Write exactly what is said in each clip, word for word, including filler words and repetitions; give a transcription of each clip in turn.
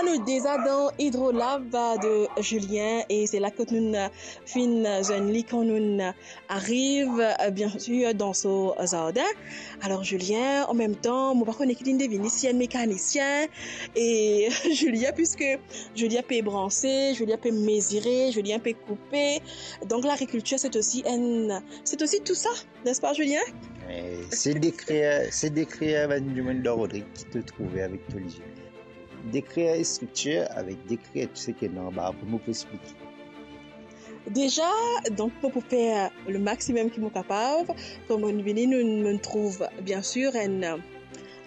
Nou deza dan Hydrolab de Julien e se la kot nou finn zwenn li kan nou ariv, bien sir, dan so zardin. Alor Julien, an mem tan, mo pa kone ki linn devini, si enn mekanisien. E Julien, piske Julien pe branse, Julien pe mezire, Julien pe koupe, donk lagrikiltir, c'est aussi un, c'est aussi tout ça, n'est-ce pas, Julien? Eh, se dekrir, se dekrir bann dimoun dan Rodrig ki to trouve avek to lizie. Dekrir striktir avek dekrir tou seki ena anba, pou mo pou explike. Deza, donk, mo pou fer le maximum ki mo kapav. Kan mo vini, nou, nou trouv, bien sir, enn,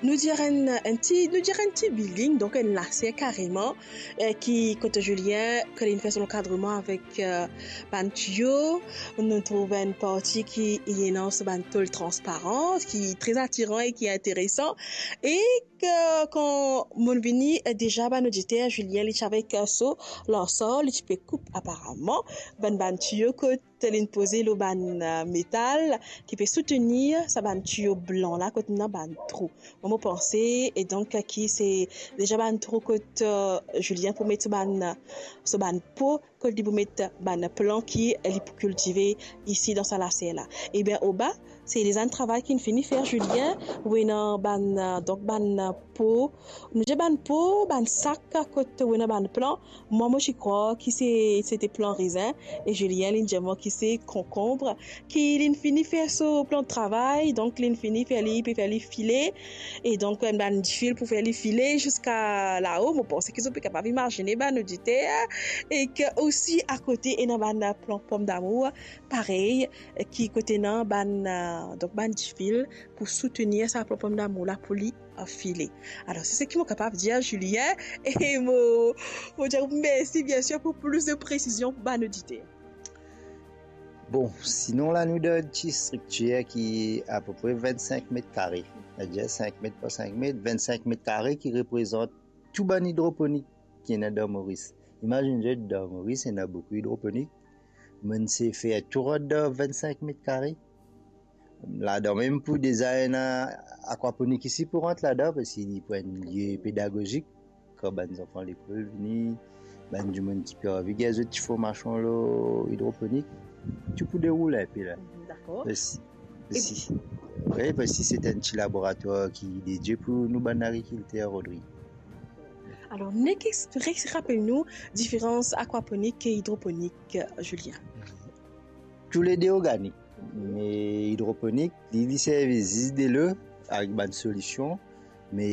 nou dir enn, enn ti, nou dir enn ti building, donk enn laser kareman, eh, ki kot Julien, ki linn fer so lankadreman avek, eh, bann tiyo. Nou trouv enn parti ki ena so bann tol transparan, ki tre atiran e ki interesan. E ke kan mo vini, eh, deza bann oditer, Julien, li ti avek, eh, so lansor, li ti pe koup aparaman bann, bann tiyo kot linn poze lor bann, eh, metal ki pe soutenir sa bann tiyo blan la kot ena bann trou. Mwa, mo panse, e donk, ki se deza bann trou kot, eh, Julien pou met so bann, so bann po, kot li pou met bann plan ki li pou kiltive isi dan sa laser la. Ebien, oba, se lezann travay ki'nn fini fer, Julien, ou ena bann, eh, donk bann, eh, po, nou dir bann po, bann sak kot ou ena bann plan. Mwa, mo ti krwar ki se, se te plan rezin, e Julien, li'nn dir mwa ki se konkonb, ki li'nn fini fer so plan travay, donk li'nn fini fer li, pe fer li file, e donk, eh, bann difil pou fer li file ziska lao. Mo panse ki zot pe kapav imazine, bann oditer, e ki osi akote ena bann plan pomdamour, parey, ki kot ena bann, eh, donk bann difil pou soutenir sa plan pomdamour la pou li, eh, file. Alor, se seki mo kapav dir, Julien, e mo, mo dir mersi, bien sir, pou plis de presizion pou bann oditer. Bon, sinon la, nou dan enn ti striktir ki apepre vennsenk met kare. Savedir sink met par sink met, vennsenk met kare ki reprezant tou bann idroponik ki ena dan Moris. Imazinn zot, dan Moris, ena boukou idroponik. Mo'nn sey fer tou rant dan vennsenk met kare. Ladan mem pou deza ena akwaponik isi pou rant ladan, parski li pou enn lie pedagozik, kan bann zanfan lekol vini, bann dimoun ki pe anvi gagn zot ti formasion lor idroponik, tou pou deroul inpe la. Mhm, dakor. Mersi. E mersi. Wi, parski se enn ti laboratwar ki dedie pou nou bann agrikilter Rodrig. Alor, nek expliz, rapel nou diferans akwaponik e idroponik, Julien. Toulede organik. Me idroponik, li, li servi zis delo avek bann solision. Me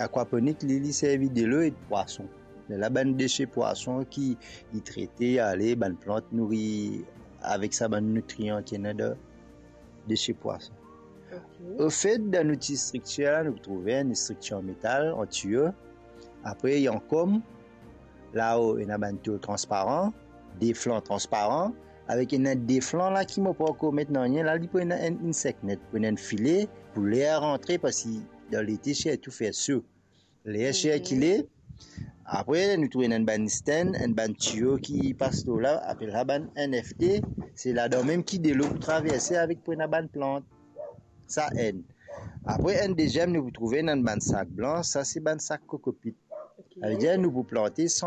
akwaponik, li, li servi delo e pwason. Lerla bann dese pwason ki li trete, ale, bann plant nouri avek sa bann nitrian ki ena dan dese pwason. Ok. Ofet, dan nou ti striktir la, nou trouve enn striktir an metal, an tiyo. Apre, ena kom, lao ena bann tol transparan, de flan transparan, avek ena de flan la ki mo pa ankor met nanye la, li pou ena enn, enn seknet, pou ena enn file, pou ler rantre, parski dan lete sirtou fer so. Ler sirkile, apre nou trouve ena enn bann stand, enn bann tiyo ki pas lor la, apel sa bann N F T, se ladan mem ki delo pou traverse avek pou ena bann plant. Sa enn. Apre enn deziem, nou pou trouve ena enn bann sak blan, sa se bann sak kokopit. Ok. Savedir nou pou plante san